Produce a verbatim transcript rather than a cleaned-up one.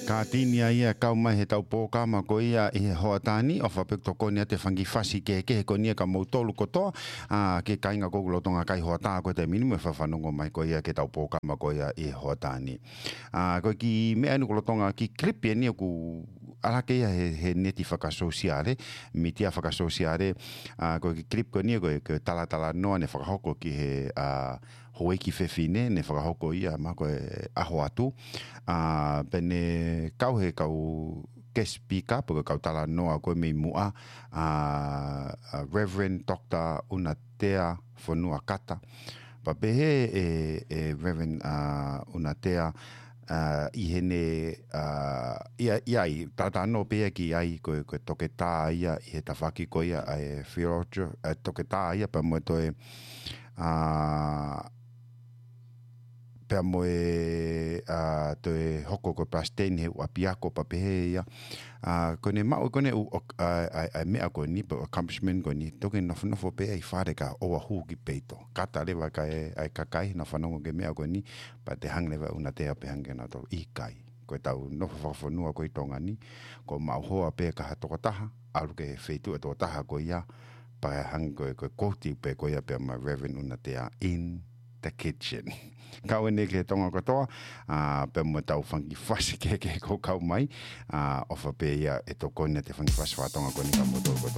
Ka tini ia ia kau mai he tau pōkama ko ia ʻi he hoʻatā ni, ʻofa pē ke tokoni atu e fanga kiʻi fasi kehekehe ko eni kia moutolu kotoa, ʻa, ki he kāinga ʻoku lolotonga kai hoʻatā ko e taimi ni mo e fakafanongo mai ko ia ki he tau pōkama ko ia ʻi he hoʻatā ni. ʻA, ko e kiʻi meʻa eni ʻoku lolotonga kiʻi clip eni ʻoku ʻalu hake ia he, he neti fakasōsiale, mītia fakasōsiale, ʻa, ko e kiʻi clip ko eni ko e, ko e talatalanoa ne fakahoko ki he, ʻa, houʻeiki fefine ne fakahoko ia ma ko e ʻaho atu. ʻA, pea ne kau he kau guest speaker, pe ko e kau talanoa ko e mei muʻa, ʻa, ʻa Reverend Doctor ʻUnatea Fonuakata. Pea pehē ʻe, ʻe Reverend, ʻa, ʻUnatea, ʻa, ʻi heʻene, ʻa, ʻi ai, ʻi ai, talatalanoa pē ia ki ai ko e, ko e toketā ia ʻi he tafaʻaki ko ia ʻa e theology, ʻa, toketā ia pea mo e toe, ʻa, pea mo e, ʻa, toe hoko ko e palesiteni he ʻū ʻapiako pea pehē ia. ʻA, ko ʻene maʻu ko ʻene ʻū, ʻo, ʻa, ʻa, ʻa e meʻa ko eni, pe ʻū accomplishment ko eni, toki nofonofo pē ia ʻi fale kae ʻoua ʻe hū ki peito. Kata leva kae, ʻa e kakai, nau fanongo ki he meʻa ko eni, pea toe hanga leva ʻe ʻUnatea pē hanga kia nautolu ʻikai. Ko e tau nofo fakafonua ko ē ʻi Tonga ni, ko e maʻu hoa pē ʻe ha tokotaha, ʻalu ki he feituʻu ʻa e tokotaha ko ia, pea hanga ko e, ko e quote pē ko ia pea mei Reverend ʻUnatea in the kitchen. Kau eni ki he Tonga kotoa, ʻa, pea mo e tau fanga kiʻi fasi kehekehe ʻoku kau mai, ʻa, ʻofa pē ia ʻe tokoni atu e fanga kiʻi fasi faka-Tonga ko eni kia moutolu kotoa.